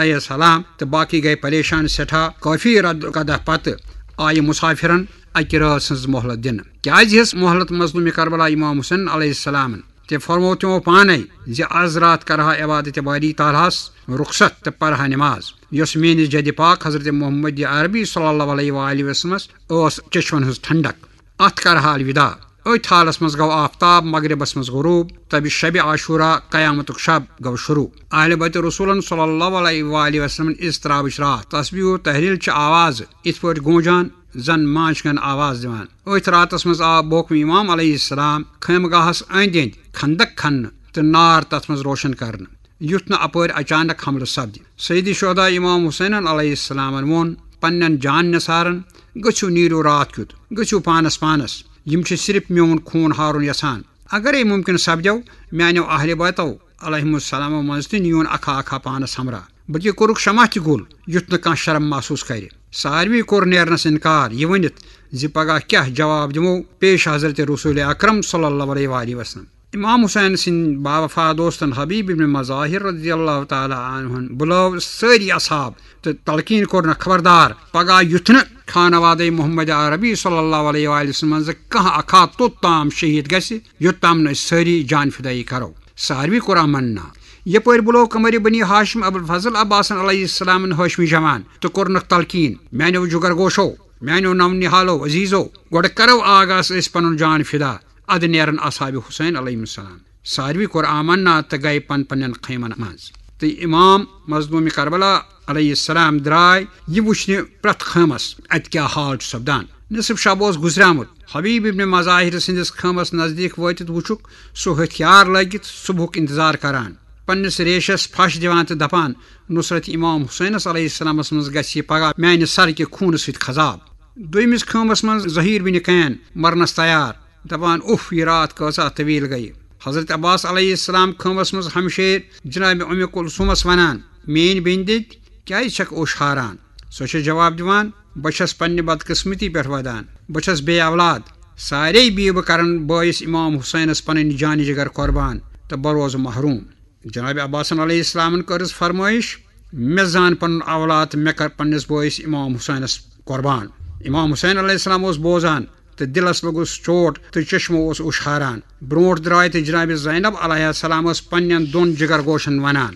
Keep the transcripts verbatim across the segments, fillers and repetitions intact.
علیہ السلام تہٕ باقی گٔے پریشان سٮ۪ٹھاہ۔ کٲفی رد قدح پتہٕ آیہِ مسافرن اکہِ رٲژ ہٕنٛز مۄہلت دِنہٕ۔ کیازِ ہیٚژ مۄہلت مظلوم کربلا امام حسین علیہ السلامن؟ تہِ فرموو تِمو پانے زِ از راتھ کرہا عبادت باری تعالیٰ ہس رخصت تہٕ پرہا نماز، یۄس میٲنِس جدِ پاک حضرت محمد عربی صلی اللہ علیہ وآلہ وسلمس ٲس چشمن ہٕنٛز ٹھنڈک۔ اتھ کرہا الوداع۔ أتھۍ حالس منٛز گوٚو آفتاب مغربس منٛز غروب، تہٕ شبِ عاشورہ، قیامتُک شب، گوٚو شروع۔ اہل بیت رسولن صلی اللہ علیہ وآلہ وسلمن اضطرابٕچ راتھ۔ تسبیح و تحلیل چہِ آوازٕ یِتھ پٲٹھۍ گوٗنجان زن مانچھ گن آواز دِوان۔ أتھۍ راتس منٛز آو بوکم امام علیہ السلام خیمگاہس أنٛدۍ أنٛدۍ خندق کھننہٕ تہٕ نار تتھ منٛز روشن کرنہٕ، یُتھ نہٕ اپٲرۍ اچانک حملہٕ سپدِ۔ سید شہدا امام حسینن علیہ السلامن ووٚن پننٮ۪ن جان نثارن، "گٔژھِو، نیٖرِو راتھ کیُتھ، گٔژھِو پانس پانس۔ یِم چھِ صرف میون خوٗن ہارُن یژھان۔ اگرے ممکن سپدیو، میانیو اہل بیتو علیہم السلامو منٛز تہِ نیون اکھا اکھا پانس ہمراہ، بلکہ کوٚرُکھ شمع تہِ گُل، یُتھ نہٕ کانٛہہ شرم محسوس کرِ۔" ساروی کوٚر نیرنس انکار، یہِ ؤنِتھ زِ پگاہ کیٛاہ جواب دِمو پیش حضرت رسول اکرم صلی اللہ علیہ وآلہ وسلم۔ امام حسین سٕنٛدۍ باوفا دوستن حبیب ابن مظاہر رضی اللہ تعالیٰ عنہن بُلٲو سٲری اصحاب تہٕ تلقین کوٚرنکھ خبردار، پگاہ یُتھ نہٕ خانوادے محمد عربی صلی اللہ علیہ وآلہ وسلم منٛز کانٛہہ اکھا توٚت تام شہید گژھِ، یوٚت تام نہٕ أسۍ سٲری جان فدٲیی کرو۔ ساروی کوٚر امن ناو۔ یپٲرۍ بُلٲو قمر بنی ہاشم ابوالفضل عباسن علیہ السلامن ہاشمی جوان تہٕ کوٚرنکھ تلقین، "میانیو جگر گوشو، میانیو نو نہالو عزیزو، گۄڈٕ کرو آغاز أسۍ پنُن جان فدا، ادٕ نیرن اصحاب حسین علیہم السلام۔" ساروی کوٚر آمنا تہٕ گٔے پن پننٮ۪ن خیمن منٛز۔ تہٕ امام مظلوم کربلا علیہ السلام درٛاے یہِ وٕچھنہِ پرٛٮ۪تھ خٲمس اتہِ کیٛاہ حال چھُ سپدان۔ نصف شب اوس گُزریومُت۔ حبیب ابن مظاہر سٕنٛدِس خٲمس نزدیٖک وٲتِتھ وٕچھُکھ سُہ ہتھیار لٲگِتھ صبحُک انتظار کران، پننِس ریشس پھش دِوان تہٕ دپان، "نصرت امام حسینس علیہ السلامس منٛز گژھِ یہِ پگاہ میانہِ سرٕ کہِ خوٗنہٕ سۭتۍ خضاب۔" دوٚیمِس خٲمس منٛز ظہیر بن کین مرنس تیار، دپان، "اُف، یہِ راتھ کۭژاہ طویل گٔیہِ۔" حضرت عباس علیہ السلام خٲمس منٛز ہمشیر جناب ام کلثومس ونان، "میٲنۍ بیٚنہِ دِتۍ کیازِ چھکھ اوٚش ہاران؟" سۄ چھےٚ جواب دِوان، "بہٕ چھس پننہِ بدقسمتی پٮ۪ٹھ ودان، بہٕ چھس بے اولاد، سارے بیبہٕ کرن بٲیِس امام حسینس پنٕنۍ جانہِ جگر قربان تہٕ بہٕ روزٕ محروم۔" جناب عباسن علیہ السلامن کٔرٕس فرمٲیش، "مےٚ زان پنُن اولاد تہٕ مےٚ کر پننِس بٲیِس امام حسینس قربان۔" امام حسین علیہ السلام اوس بوزان تہٕ دِلس لوٚگُس چوٹ تہٕ چشمو اوس اوٚش ہاران۔ برونٛٹھ درٛاے تہٕ جناب زینب علیہ السلام ٲس پننٮ۪ن دۄن جگر گوشن ونان،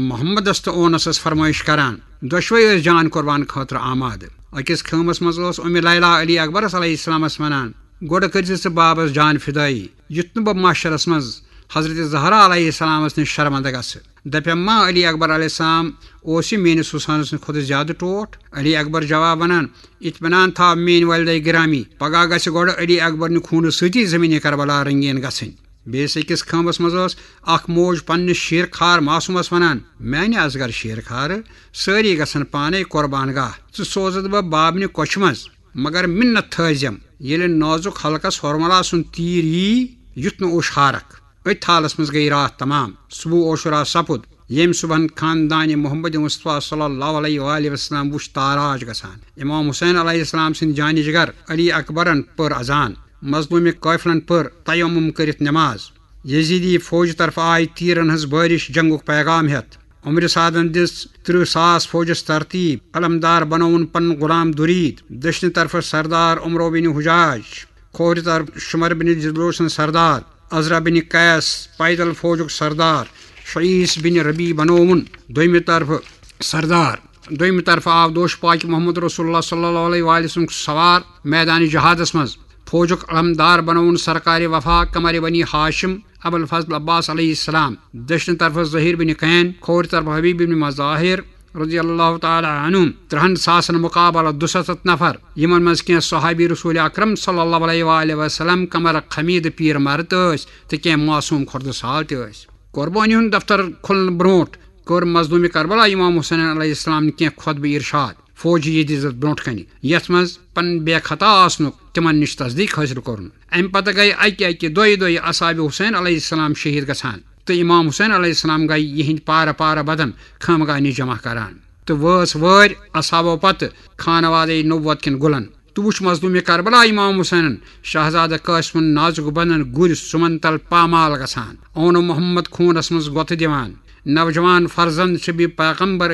محمدس تہٕ اونسس فرمٲیش کران۔ دۄشوے ٲسۍ جان قربان خٲطرٕ آمادٕ۔ أکِس خٲمس منٛز ٲس ام لیلا علی اکبرس علیہ السلامس ونان، "گۄڈٕ کٔرۍ زِ ژٕ بابس جان فدٲیی، یُتھ نہٕ بہٕ محشرس منٛز حضرت زہرا علیہ السلامس نِش شرمندٕ گژھٕ۔" دپٮ۪م ما علی اکبر علیہ السلام اوس یہِ میٲنِس حسینس نِش کھۄتہٕ زیادٕ ٹوٹھ؟ علی اکبر جواب ونان، "اطمینان تھاو میٲنۍ والدے گرامی، پگاہ گژھِ گۄڈٕ علی اکبر نہِ خوٗنہٕ سۭتی زمینِ کربلا رنگین گژھٕنۍ۔" بیٚیِس أکِس خٲمس منٛز ٲس اکھ موج پننِس شیرخار معصومس ونان، "میانہِ اصغر شیرخارٕ، سٲری گژھن پانے قربان گاہ، ژٕ سوزتھ بہٕ بابنہِ کۄچھِ منٛز، مگر منت تھٲوزٮ۪م، ییٚلہِ نازُک حلقس ہورملا سُنٛد تیٖر یی، یُتھ نہٕ اوٚش ہارکھ۔" أتھۍ حالس منٛز گٔیہِ راتھ تمام۔ صبح عاشورہ سپُد، ییٚمہِ صبحن خاندانِ محمد مصطفیٰ صلی اللہ علیہ وآلہ وسلم وُچھ تاراج گژھان۔ امام حسین علیہ السلام سٕنٛدۍ جانِ جگر علی اکبرن پٔر اذان۔ مظلومِ قٲفلن پٔر تیمم کٔرِتھ نماز۔ یزیدی فوجہِ طرفہٕ آیہِ تیٖرن ہٕنٛز بٲرِش جنگُک پیغام ہٮ۪تھ۔ عمرِ سعدن دِژ ترٕٛہ ساس فوجس ترتیب۔ علمدار بنووُن پنُن غلام درید۔ دٔچھنہِ طرفہٕ سردار عمرو بن حجاج، کھوورِ طرفہٕ شمر بن جدلوسن سردار، عزرا بن قیس پیدل فوجُک سردار، شعیس بن ربی بنووُن دوٚیمہِ طرفہٕ سردار۔ دوٚیمہِ طرفہٕ آو دوش پاک محمد رسول اللہ صلی اللہ علیہ وآلہ وسلم سوار میدان جہادس منٛز۔ فوجُک علمدار بنووُن سرکار وفا قمر بنی ہاشم ابوالفضل عباس علیہ السلام۔ دٔچھنہِ طرفہٕ ظہیر بن کین، کھوورِ طرفہٕ حبیب بن مظاہر رضی اللہ تعالیٰ عنہم، ترہن ساسن مقابلہ دُستتھ نفر، یِمن منٛز کینٛہہ صحابی رسول اکرم صلی اللہ علیہ وآلہ وسلم کمر خمید پیر مرد ٲسۍ تہٕ کینٛہہ معصوم خردٕ سال تہِ ٲسۍ۔ قربٲنی ہُنٛد دفتر کھُلنہٕ برونٛٹھ کٔر مظلوم کربلا امام حسین علیہ السلام کینٛہہ خطبہٕ ارشاد فوجی یزیدس برونٛٹھ کنہِ، یتھ منٛز پنٕنۍ بے خطا آسنُک تِمن نِش تصدیق حٲصِل کوٚرُن۔ امہِ پتہٕ گٔیہِ اکہِ اکہِ، دۄیہِ دۄیہِ اصحاب حسین علیہ السلام شہید گژھان تہٕ امام حسین علیہ السلام گٔیہِ یِہنٛدۍ پارٕ پارٕ بدن خانقاہ نِش جمع کران تہٕ وٲژ وٲرۍ اصحابو پتہٕ خانوادے نبوت کٮ۪ن گُلن۔ تہٕ وُچھ مظلوم کربلا امام حسینن شہزادٕ قاسمن نازُک بدن گُرۍ سُمن تل پامال گژھان۔ اونو محمد خوٗنس منٛز گۄتھٕ دِوان۔ نوجوان فرزند چھِ بی پیغمبر